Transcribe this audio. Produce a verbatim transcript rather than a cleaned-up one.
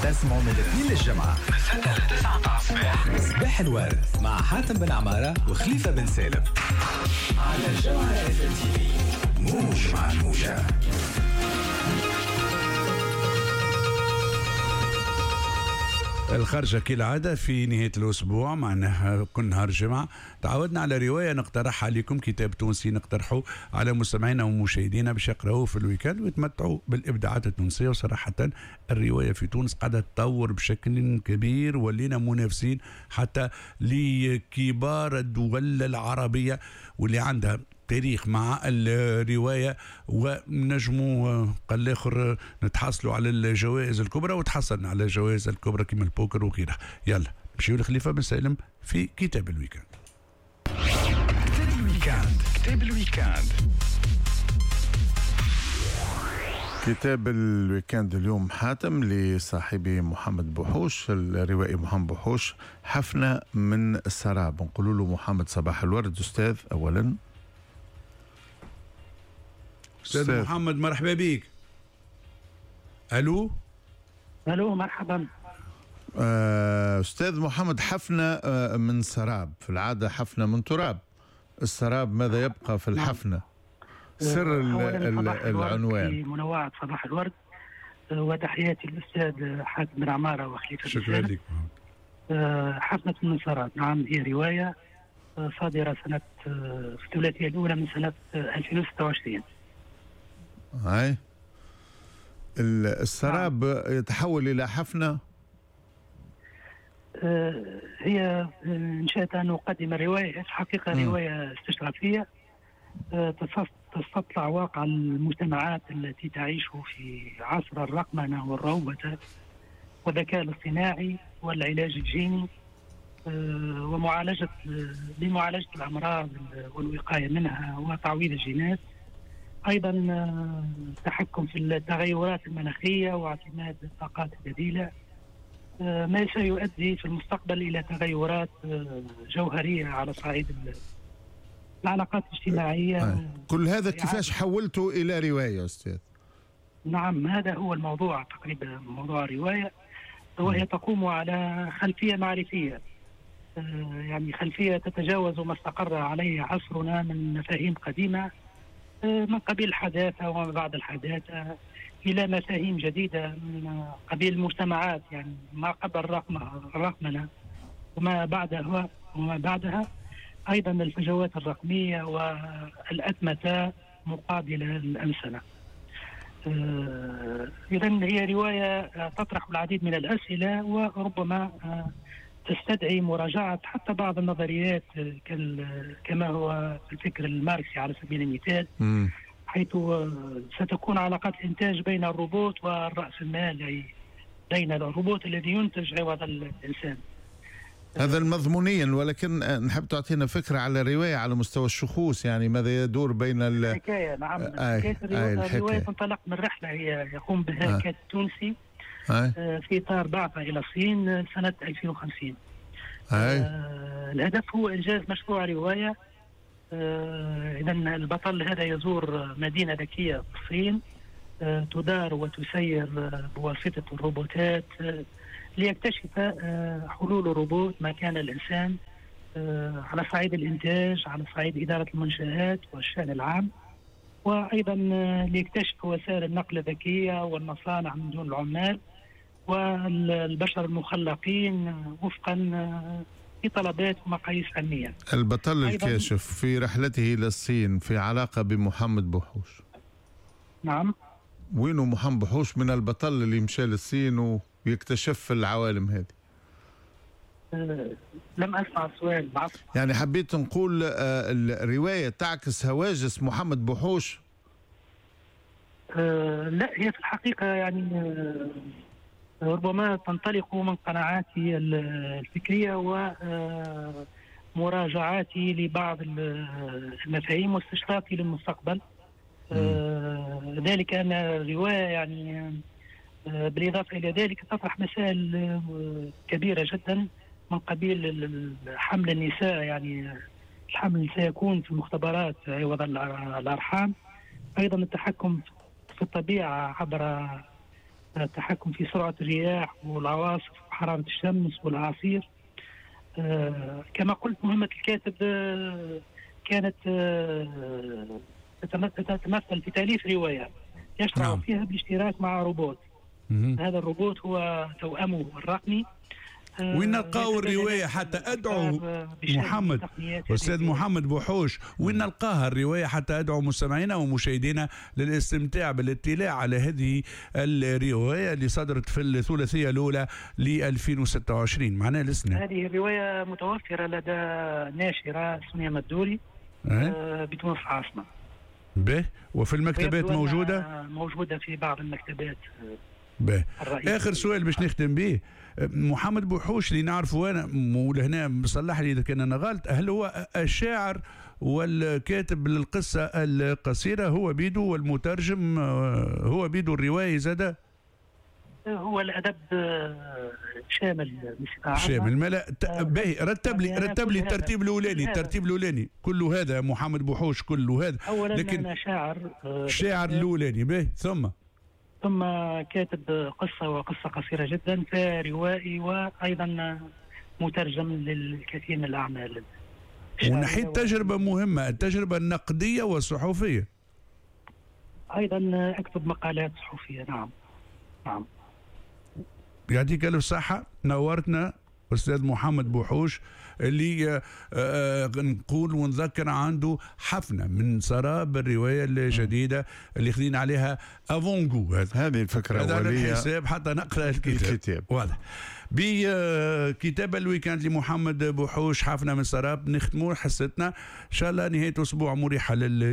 تسمعوا من الاثنين للجمعة من ستة ل تسعة متاع الصباح. صباح الورد مع حاتم بن عمارة وخليفة بن سالم على الجوهرة اف ام تي في، موج مع الموجة. الخرجة كالعادة في نهاية الأسبوع، معناها كل نهار جمعة تعودنا على رواية نقترحها عليكم، كتاب تونسي نقترحه على مستمعينا ومشاهدينا باش يقرأوه في ال week-end ويتمتعوا بالإبداعات التونسية. وصراحة الرواية في تونس قاعدة تطور بشكل كبير، ولينا منافسين حتى لكبار الدول العربية واللي عندها تاريخ مع الرواية، ونجموا قال الآخر نتحصلوا على الجوائز الكبرى، وتحصلنا على الجوائز الكبرى كما البوكر وغيرها. يلا نمشيو لخليفة بن سالم في كتاب ال week-end. كتاب ال week-end، كتاب ال week-end، كتاب ال week-end اليوم حاتم لصاحبه محمد بوحوش، الروائي محمد بوحوش، حفنة من السراب. نقول له محمد صباح الورد أستاذ. أولا أستاذ محمد مرحبا بك. ألو ألو مرحبا أستاذ محمد. حفنة من سراب، في العادة حفنة من تراب، السراب ماذا يبقى في الحفنة؟ سر العنوان. في منوعة صباح الورد، وتحياتي للأستاذ حاتم بن عمارة وخليفة. شكرا لك. حفنة من سراب، نعم هي رواية صادرة سنة في الثلاثية الأولى من سنة ألفين وستة وعشرين. هاي السراب يتحول إلى حفنة. هي إنشأت أن أقدم الرواية، الحقيقة رواية استشرافية تستطلع واقع المجتمعات التي تعيش في عصر الرقمنة والروبوتة والذكاء الاصطناعي والعلاج الجيني، ومعالجة لمعالجة الأمراض والوقاية منها وتعويض الجينات، أيضا التحكم في التغيرات المناخية واعتماد الطاقات البديلة، ما سيؤدي في المستقبل إلى تغيرات جوهرية على صعيد العلاقات الاجتماعية. كل هذا كيفاش حولته إلى رواية أستاذ؟ نعم هذا هو الموضوع تقريبا، موضوع الرواية، وهي تقوم على خلفية معرفية، يعني خلفية تتجاوز ما استقر عليه عصرنا من مفاهيم قديمة من قبيل الحداثة وما بعد الحداثة إلى مفاهيم جديدة من قبيل المجتمعات، يعني ما قبل الرقمنة وما بعدها وما بعدها، أيضا الفجوات الرقمية والأتمتة مقابلة للأنسنة. إذن هي رواية تطرح العديد من الأسئلة، وربما تستدعي مراجعة حتى بعض النظريات كما هو الفكر الماركسي على سبيل المثال، م. حيث ستكون علاقات الإنتاج بين الروبوت والرأس المال، أي بين الروبوت الذي ينتج عوض الإنسان. هذا المضمونيا، ولكن نحب تعطينا فكرة على الرواية على مستوى الشخوص، يعني ماذا يدور بين الحكاية. نعم آه حكاية الرواية, آه الرواية تنطلق من رحلة هي يقوم بها آه. كاتب تونسي آه. في إطار بعثة إلى الصين سنة ألفين وخمسين. آه. آه الهدف هو إنجاز مشروع رواية. آه إذا البطل هذا يزور مدينة ذكية في الصين، آه تدار وتسير بواسطة الروبوتات، آه ليكتشف حلول الروبوت مكان الإنسان على صعيد الإنتاج، على صعيد إدارة المنشآت والشأن العام، وأيضا ليكتشف وسائل النقل الذكية والمصانع من دون العمال والبشر المخلقين وفقا لطلبات ومقاييس علمية. البطل الكاشف في رحلته إلى الصين في علاقة بمحمد بوحوش. نعم. وينه محمد بوحوش من البطل اللي مشى للصين و ويكتشف العوالم هذه؟ أه لم أسمع السؤال. يعني حبيت نقول أه الرواية تعكس هواجس محمد بوحوش؟ أه لا، هي في الحقيقة يعني ربما تنطلق من قناعاتي الفكرية ومراجعاتي لبعض المفاهيم واستشرافي للمستقبل. أه ذلك أن الرواية يعني بالإضافة إلى ذلك تطرح مسائل كبيرة جدا من قبيل حمل النساء، يعني الحمل سيكون في المختبرات عوض الأرحام، أيضا التحكم في الطبيعة عبر التحكم في سرعة الرياح والعواصف وحرارة الشمس والأعاصير. كما قلت مهمة الكاتب كانت تتمثل في تأليف رواية يشرع نعم. فيها بالاشتراك مع روبوت. مم. هذا الروبوت هو توأمه الرقمي. وين نلقاو الرواية حتى أدعو محمد أستاذ محمد بوحوش، وين نلقاها الرواية حتى أدعو مستمعينا ومشاهدينا للاستمتاع بالاطلاع على هذه الرواية اللي صدرت في الثلاثية الأولى ل ألفين وستة وعشرين معناها السنة؟ هذه الرواية متوفرة لدى ناشرة سونيا مدوري أه؟ بتونس العاصمة. به، وفي المكتبات موجودة؟ موجودة في بعض المكتبات. به. آخر سؤال باش نختم به، محمد بوحوش اللي نعرفه أنا ولهنا صلح لي إذا كان أنا غلط، هل هو الشاعر والكاتب للقصة القصيرة هو بيدو، والمترجم هو بيدو، الرواية زادة؟ هو الأدب شامل شامل. ملا باهي، رتب لي رتب لي الترتيب الأولاني، الترتيب الأولاني كل هذا محمد بوحوش كل هذا. أولا لكن أنا شاعر، شاعر الأولاني باهي، ثم ثم كاتب قصة وقصة قصيرة جدا، فروائي، وأيضا مترجم للكثير من الأعمال. ونحيت تجربة مهمة، التجربة النقدية والصحفية. أيضا أكتب مقالات صحفية. نعم نعم. يعطيك ألف صحة، نورتنا أستاذ محمد بوحوش اللي نقول ونذكر عنده حفنة من سراب الرواية الجديدة اللي خذينا عليها avant-goût. هذه الفكرة الأولية، هذا الحساب حتى نقرأ الكتاب, الكتاب. واضح بكتاب ال week-end لمحمد بوحوش حفنة من سراب. نختموا حصتنا إن شاء الله نهاية أسبوع مريحة لل